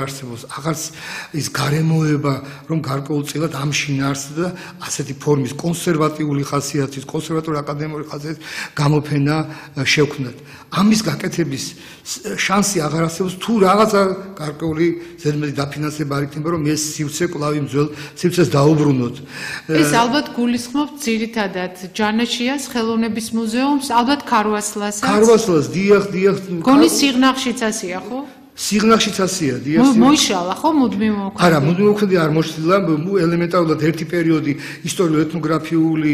არსებობს აღარც ის გარემოება რომ გარკვეულწილად ამ შინაარსს და ასეთი ფორმის კონსერვატიული ხასიათის, კონსერვატული აკადემიური ხასიათის გამოფენა შევქმნათ. ამის გაკეთების შანსი აღარ არსებობს თუ რაღაცა გარკვეული ზედმეტი დაფინანსება არ იქნება რომ ეს სივრცე კვლავ იმ ძველ სივრცეს დაუბრუნოთ. ეს ალბათ გულისხმობთ ძირითადად ჯანაშიას ხელოვნების მუზეუმს, ალბათ ქარვასლასაც. ქარვასლას დიახ. გონის სიღნაღშიც ასია, ხო? სიღნაღშიც ასია, დიახ. მოიშალა ხო მუდმივ მოქმედი? არა, მუდმივ მოქმედი არ მოშლილა, ელემენტარულად ერთი პერიოდი ისტორიულ-ეთნოგრაფიული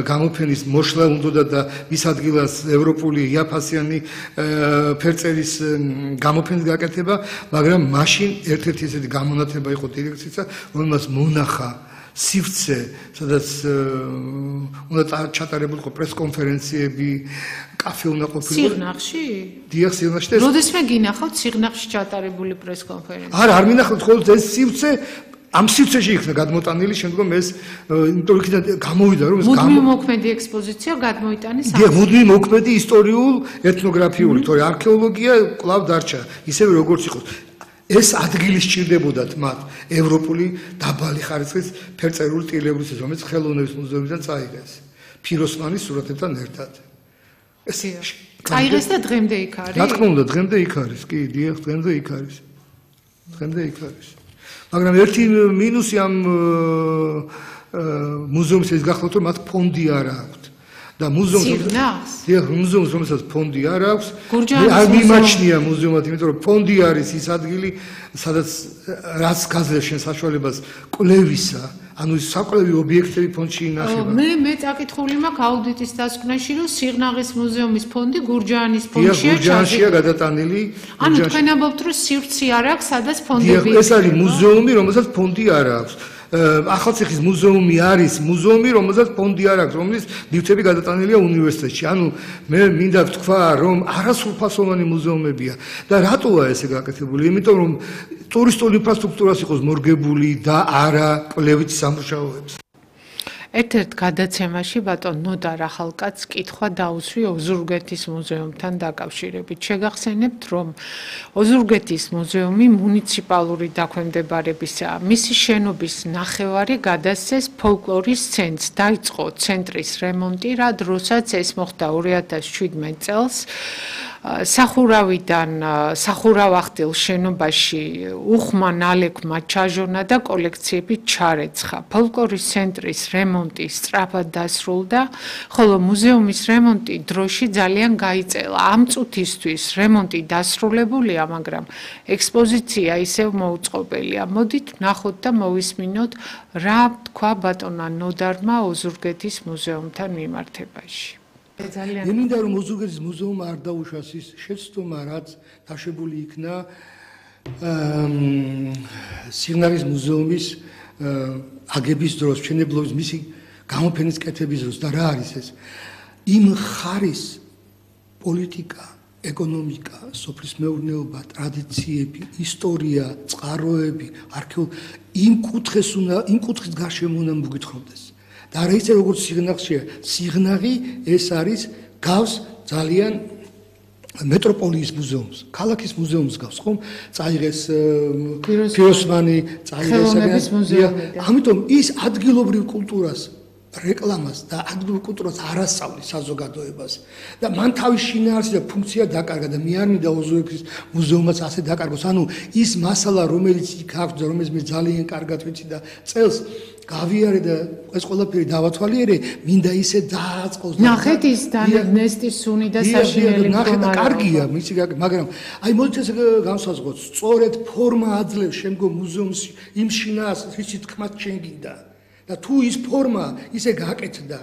გამოფენის მოშლა უნდოდა და მის ადგილას ევროპული იაფასიანი ფერწერის გამოფენის გაკეთება, მაგრამ მაშინ ერთ-ერთი ესეთი გამონათება იყო დირექცია, რომელმაც მონახა სივრცე, სადაც უნდა ჩატარებულიყო პრესკონფერენციები, კაფე უნდა ყოფილიყო. სიღნაღში? დიახ, სიღნაღში. როდესმე გინახავთ სიღნაღში ჩატარებული პრესკონფერენცია? არა, არ მინახავთ ხოლმე ეს სივრცე ამ სივრცეში იქნა გადმოტანილი, შემდგომ ეს იმიტომ იქიდან გამოვიდა რომ ეს მუდმივ მოქმედი ექსპოზიცია გადმოიტანეს ამ. დიახ, მუდმივ მოქმედი ისტორიულ ეთნოგრაფიული, თორე არქეოლოგია კვლავ დარჩა, ისევე როგორც იყო. ეს ადგილი სჭირდებოდათ მათ ევროპული დაბალი ხარისხის ფერწერული ტილებრისთვის, რომელიც ხელოვნების მუზეუმიდან წაიღეს ფიროსმანის სურათებთან ერთად. ეს წაიღეს და დღემდე იქ არის? რა თქმა უნდა, დღემდე იქ არის, კი, დიახ, დღემდე იქ არის. მაგრამ ერთი მინუსი ამ მუზეუმის ის გახლავთ, რომ მათ ფონდი არ აქვს. და მუზეუმს რომელსაც ფონდი არ აქვს, არ მიმაჩნია მუზეუმად, იმიტომ რომ ფონდი არის ის ადგილი, სადაც რაც გაძლევს შენ საშუალებას კვლევისა, ანუ ის საკვლევი ობიექტები ფონდში ინახება. მე წაკითხული მაქვს აუდიტის დასკვნაში, რომ სიღნაღის მუზეუმის ფონდი გურჯაანის ფონდშია გურჯაანშია გადატანილი. ანუ თქვენ ამბობთ, რომ სივრცე არ აქვს, სადაც ფონდები ეს არის მუზეუმი, რომელსაც ფონდი არ აქვს. ახალციხის მუზეუმი არის მუზეუმი, რომელსაც ფონდი არ აქვს, რომლის ნივთები გადატანილია უნივერსიტეტში. ანუ მე მინდა ვთქვა, რომ არასრულფასოვანი მუზეუმებია და რატოა ესე გაკეთებული? იმიტომ რომ ტურისტული ინფრასტრუქტურას იყოს მორგებული და არა კვლევით სამუშაოებს. ერთ-ერთ გადაცემაში ბატონ ნოდარ ახალკაცს კითხვა დაუსვი ოზურგეთის მუზეუმთან დაკავშირებით. შეგახსენებთ, რომ ოზურგეთის მუზეუმი მუნიციპალური დაქვემდებარებისაა. მისი შენობის ნახევარი გადასცეს ფოლკლორის ცენტრს. დაიწყო ცენტრის რემონტი, რა დროსაც ეს მოხდა 2017 წელს. სახურავახტილ შენობაში უხმა ნალექმა ჩაჟონა და კოლექციები ჩარეცხა. ფოლკლორის ცენტრის რემონტი სწრაფად დასრულდა, ხოლო მუზეუმის რემონტი დროში ძალიან გაიწელა. ამ წუთისთვის რემონტი დასრულებულია, მაგრამ ექსპოზიცია ისევ მოუწყობელია. მოდით ვნახოთ და მოვისმინოთ, რა თქვა ბატონმა ნოდარმა ოზურგეთის მუზეუმთან მიმართებაში. მე მინდა რომ ოზურგეთის მუზეუმმა არ დაუშვას ის შეცდომა, რაც დაშვებული იქნა სიღნაღის მუზეუმის აგების დროს, მშენებლობის მისი გამოფენის კეთების დროს და რა არის ეს? იმ ხარის პოლიტიკა, ეკონომიკა, სოფლის მეურნეობა, ტრადიციები, ისტორია, წყაროები, არქეოლოგია, იმ კუთხის გარშემო უნდა მოგვითხრობდეს. და არა ისე როგორც სიღნაღშია, სიღნაღი ეს არის გავს ძალიან მეტროპოლიის მუზეუმს, ქალაქის მუზეუმს გავს, ხომ? წაიღეს ფიროსმანი, წაიღეს ამიტომ ის ადგილობრივ კულტურას რეკლამას და ადგილობრივ კულტურას არ ასწავლის საზოგადოებას და მან თავის შინაარსი და ფუნქცია დაკარგა და მე არ მინდა ოზურგეთის მუზეუმაც ასე დაკარგოს. ანუ ის მასალა, რომელიც იქ აქვს და რომელიც მე ძალიან კარგად ვიცი და წელს გავიარე და ეს ყველაფერი დავათვალიერე, მინდა ისე დააწყოს. ნახეთ ის ნესტის სუნი და საშინელი მდგომარეობა. კარგია, მაგრამ აი მოდით ეს განსაზღვროთ, სწორედ ფორმა აძლევს შემდგომ მუზეუმს იმ შინაარსს, რის თქმაც შენ გინდა. და თუ ის ფორმა ისე გაკეთდა,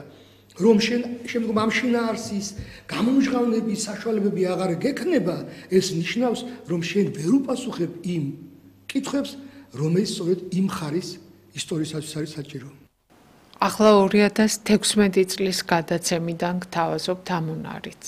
რომ შენ შემდგომ ამ შინაარსის გამომჟღავნების საშუალებები აღარ გექნება, ეს ნიშნავს, რომ შენ ვერ უპასუხებ იმ კითხვებს, რომელიც სწორედ იმ ხარის ისტორიისათვის არის საჭირო. ახლა 2016 წლის გადაცემიდან გთავაზობთ ამ უნარიც.